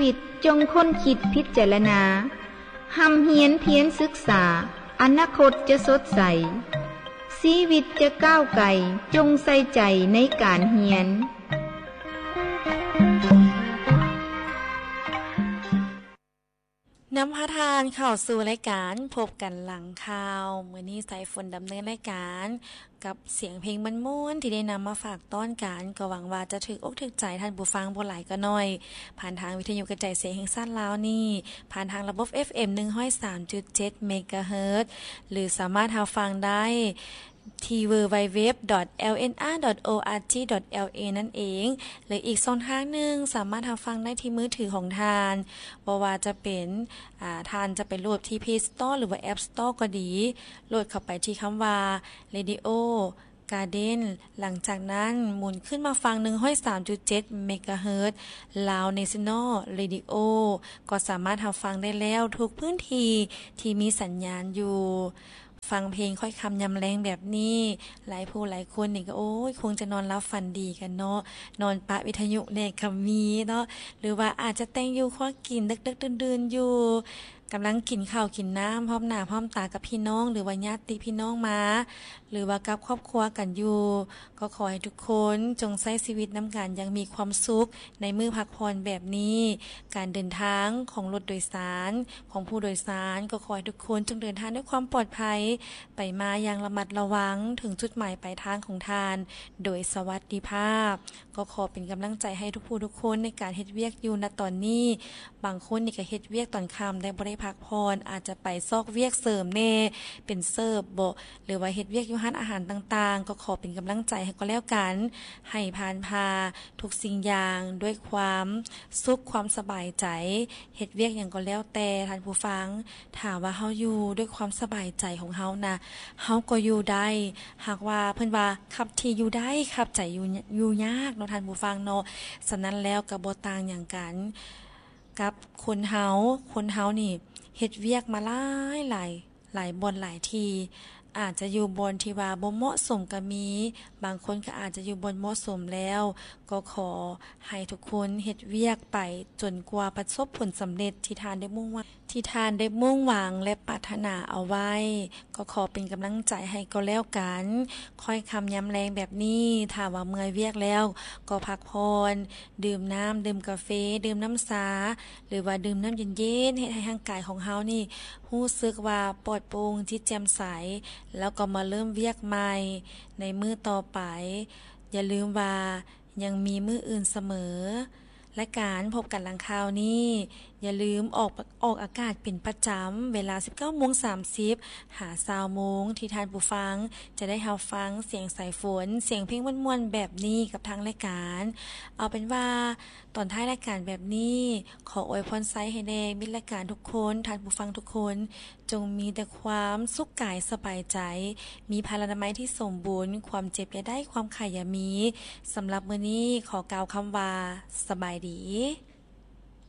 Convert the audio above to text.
ວິດຈົ່ງຄົ້ນຄິດພິຈາລະນາ, ຮ່ຳຮຽນພຽນສຶກສາ, ອະນາຄົດຈະສົດໃສ, ຊີວິດຈະກ້າວໄກ, ຈົ່ງໃສ່ໃຈໃນການຮຽນ. ນຳພາທ່ານເຂົ້າສູ່ລາຍການພົບກັນຫຼັງຂ່າວ. ມື້ນີ້ສາຍຝົນດຳເນີນລາຍການກັບສຽງເພງມ່ວນໆທີ່ໄດ້ນຳມາຝາກຕ້ອນກັນ, ກໍຫວັງວ່າຈະຖືກອົກຖືກໃຈທ່ານຜູ້ຟັງບໍ່ຫຼາຍກໍໜ້ອຍ, ຜ່ານທາງວິທະຍຸກະຈາຍສຽງແຫ່ງຊາດລາວນີ້, ຜ່ານທາງລະບົບ ເອັຟເອັມ ໜຶ່ງຮ້ອຍສາມຈຸດເຈັດ ເມກາເຮີດ ຫຼື ສາມາດຮັບຟັງໄດ້ ທີ່ www.lnr.org.la ນັ້ນເອງ ຫຼື ອີກຊ່ອງທາງໜຶ່ງ ສາມາດຮັບຟັງໄດ້ທີ່ມືຖືຂອງທ່ານ, ບໍ່ວ່າຈະເປັນ ອາ ທ່ານຈະໄປໂຫຼດທີ່ Play Store ຫຼືວ່າ App Store ກໍດີ, ໂຫຼດເຂົ້າໄປທີ່ຄຳວ່າ Radio Garden ຫຼັງຈາກນັ້ນໝູນຂຶ້ນມາຟັງ ໜຶ່ງຮ້ອຍສາມຈຸດເຈັດ ເມກາເຮີດ Lao National Radio ກໍສາມາດຮັບຟັງໄດ້ແລ້ວທຸກພື້ນທີ່ທີ່ມີສັນຍານຢູ່. ຟັງເພງຄ້ອຍຄ່ຳຍາມແລງແບບນີ້, ຫຼາຍຜູ້ຫຼາຍຄົນນີ້ກໍ ໂອ້ຍ ຄົງຈະນອນຫຼັບຝັນດີກັນເນາະ, ນອນປະວິທະຍຸແດ່ກໍມີເນາະ, ຫຼືວ່າອາດຈະແຕ່ງຢູ່ຄົວກິນ ດຶກໆ ດື່ນໆ ຢູ່, ກຳລັງກິນເຂົ້າກິນນ້ຳ ພ້ອມໜ້າພ້ອມຕາກັບພີ່ນ້ອງ ຫຼືວ່າຍາດຕິພີ່ນ້ອງມາ, ຫຼືວ່າກັບຄອບຄົວກັນຢູ່, ກໍຂໍໃຫ້ທຸກຄົນຈົ່ງໃຊ້ຊີວິດນຳກັນຢ່າງມີຄວາມສຸກໃນມື້ພັກຜ່ອນແບບນີ້. ການເດີນທາງຂອງລົດໂດຍສານ ຂອງຜູ້ໂດຍສານ ກໍຂໍໃຫ້ທຸກຄົນຈົ່ງເດີນທາງດ້ວຍຄວາມປອດໄພ, ໄປມາຢ່າງລະມັດລະວັງ, ເຖິງຈຸດໝາຍປາຍທາງຂອງທ່ານໂດຍສະຫວັດດີພາບ. ກໍຂໍເປັນກຳລັງໃຈໃຫ້ທຸກຜູ້ທຸກຄົນໃນການເຮັດວຽກຢູ່ນະຕອນນີ້. ບາງຄົນນີ້ກໍເຮັດວຽກຕອນຄ່ຳ ແຕ່ບໍ່ໄດ້ພັກຜ່ອນ, ອາດຈະໄປຊອກວຽກເສີມແດ່, ເປັນເສີບບໍ ຫຼືວ່າເຮັດວຽກຢູ່ຮ້ານອາຫານຕ່າງໆ, ກໍຂໍເປັນກຳລັງໃຈໃຫ້ກໍແລ້ວກັນ, ໃຫ້ຜ່ານຜ່າທຸກສິ່ງຢ່າງດ້ວຍຄວາມສຸກຄວາມສະບາຍໃຈ. ເຮັດວຽກຫຍັງກໍແລ້ວແຕ່ທ່ານຜູ້ຟັງ, ຖ້າວ່າເຮົາຢູ່ດ້ວຍຄວາມສະບາຍໃຈຂອງເຮົານະ, ເຮົາກໍຢູ່ໄດ້. ຫາກວ່າເພິ່ນວ່າ ຂັບທີ່ຢູ່ໄດ້ ຂັບໃຈຢູ່ ຢູ່ຍາກເນາະທ່ານຜູ້ຟັງເນາະ. ສະນັ້ນແລ້ວກໍບໍ່ຕ່າງຫຍັງກັນກັບຄົນເຮົາ, ຄົນເຮົານີ້ເຮັດວຽກມາຫຼາຍຫຼາຍ ຫຼາຍບ່ອນຫຼາຍທີ່, ອາດຈະຢູ່ບ່ອນທີ່ວ່າບໍ່ເໝາະສົມກໍມີ, ບາງຄົນກໍອາດຈະຢູ່ບ່ອນເໝາະສົມແລ້ວ. ກໍຂໍໃຫ້ທຸກຄົນເຮັດວຽກໄປຈົນກວ່າປະສົບຜົນສຳເລັດທີ່ທ່ານໄດ້ມຸ່ງຫວັງ ທີ່ທ່ານໄດ້ມຸ່ງຫວັງ ແລະ ປາດຖະໜາເອົາໄວ້. ກໍຂໍເປັນກຳລັງໃຈໃຫ້ກໍແລ້ວກັນ. ຄ້ອຍຄ່ຳຍາມແລງແບບນີ້, ຖ້າວ່າເມື່ອຍວຽກແລ້ວ ກໍພັກຜ່ອນ, ດື່ມນ້ຳ, ດື່ມກາເຟ, ດື່ມນ້ຳຊາ ຫຼືວ່າດື່ມນ້ຳເຢັນໆ, ເຮັດໃຫ້ຮ່າງກາຍຂອງເຮົານີ້ຮູ້ສຶກວ່າປອດໂປ່ງ, ຈິດແຈ່ມໃສ, ແລ້ວກໍມາເລີ່ມວຽກໃໝ່ໃນມື້ຕໍ່ໄປ. ຢ່າລືມວ່າຍັງມີມື້ອື່ນສະເໝີ. ລາຍການພົບກັນຫຼັງຂ່າວນີ້ ຢ່າລືມອອກ ອອກອາກາດເປັນປະຈຳ ເວລາສິບເກົ້າໂມງສາມສິບ ຫາຊາວໂມງ ທີ່ທ່ານຜູ້ຟັງຈະໄດ້ຮັບຟັງສຽງສາຍຝົນ, ສຽງເພງມ່ວນໆແບບນີ້ກັບທາງລາຍການ. ເອົາເປັນວ່າຕອນທ້າຍລາຍການແບບນີ້ ຂໍອວຍພອນໄຊໃຫ້ແດ່ມິດລາຍການທຸກຄົນ, ທ່ານຜູ້ຟັງທຸກຄົນ ຈົ່ງມີແຕ່ຄວາມສຸກກາຍສະບາຍໃຈ, ມີພະລານາໄມທີ່ສົມບູນ, ຄວາມເຈັບຢ່າໄດ້, ຄວາມໄຂ້ຢ່າມີ. ສຳລັບມື້ນີ້ ຂໍກ່າວຄຳວ່າ ສະບາຍດີ.